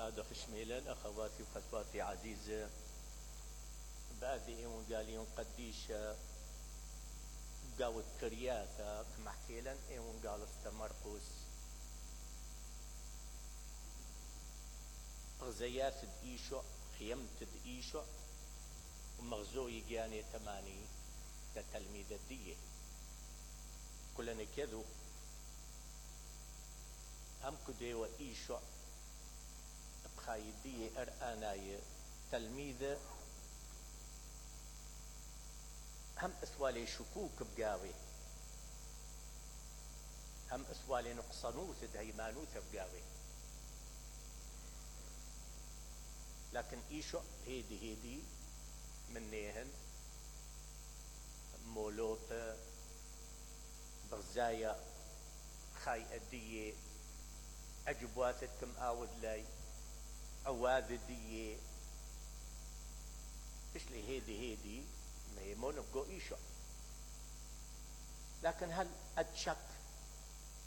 هذا خشميلة الأخواتي وخطواتي عزيزة بادئ وقاليون قديش قاوت كرياتا كما حكي لن قال استمرقس غزيات دقيشو خيمت دقيشو ومغزوي جاني تماني تتلميذ الدية كلنا كذو هم كدي وإيشو بخايدية أرآناي تلميذ هم اسوالي شكوك بقاوي هم اسوالي نقصنوت دهيمانوت بقاوي لكن ايشو هيدي منيهن مولوت بغزايا خاي ادية اجبواتكم اود لاي اواد دية اشلي هيدي ميمون بقو ايشو لكن هل اتشك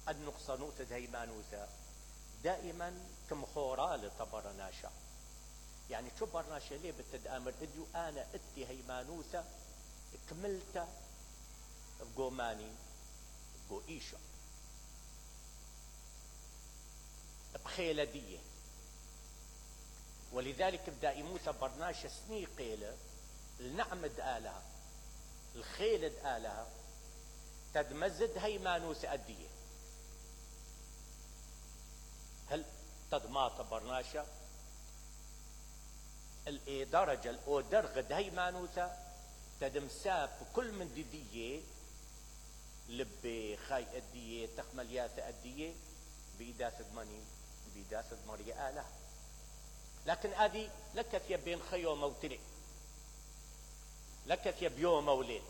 النقصنوت دهيمانوتا دائما كمخورال طبرناشا يعني شو برناشا ليه بتدامر اديو انا اتي هيمانوتا كملتا بقو ماني بقو ايشو بخيلة دية ولذلك بدائموتا برناشا سني قيلة النعمد آلها الخيلد آلها تدمزد هيمانوس أدية هل تدماط برناشا الإدرجة الأودرغد هيمانوسا تدمساب كل من دية لبي خاي أدية تخمليات أدية بإداس دماني بإداس دمارية آلها لكن هذه لكت يبين خيو موتلي لكت يبيوم وليل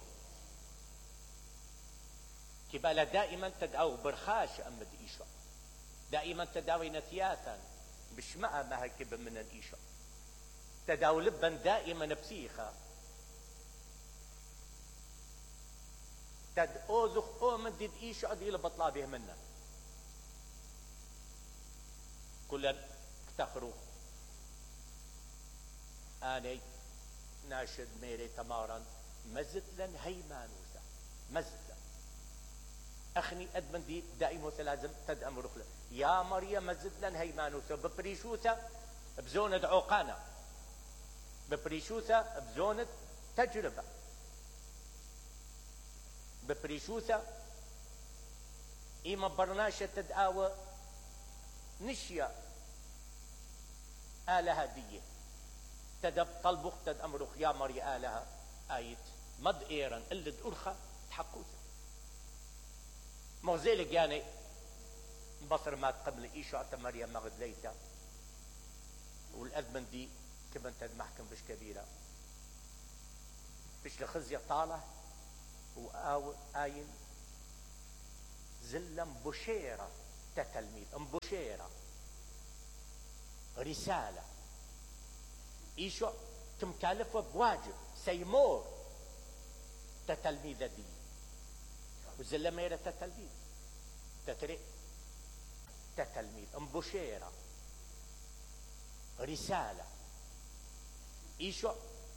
كبالا دائما تدعو برخاش أمد إيشو دائما تداوي نثياثا بشماء ما هكب من الإيشو تداو لبا دائما بسيخا تد اوزخ او من ديد إيشو أدي لبطلا به منا كلا افتخروا آني ناشد ميري تمارا مزتلا هيمانوسا مزتلا اخني ادمن دي دائما لازم تدأم رخلة يا مريم مزتلا هيمانوسا ببريشوسا بزونة عوقانا ببريشوسا بزونة تجربة ببريشوسا ايما برناشة تدعوى نشيا آلها ديه تدب طلبخ تد امرخ يا مري آلها آيت مد ايران اللي ارخى تحقوثا مغزيلك يعني بصر ما قبل ايشو عطا مريم مغد ليتا والأذمن دي كمان تد محكم بش كبيرة بش لخزية طالة وآو آين زلم بشيرة تتلميذ بشيرة رسالة ايشو كمكالفة بواجب سيمور تتلميذ دي وزلما يرى تتلميذ تتري تتلميذ بشيرة رسالة ايشو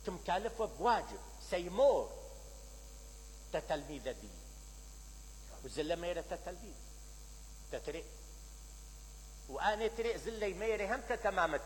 كمكالفة بواجب سيمور تتلميذ دي وزلما يرى تتلميذ تتري وانا تري زلي ميري هم تمام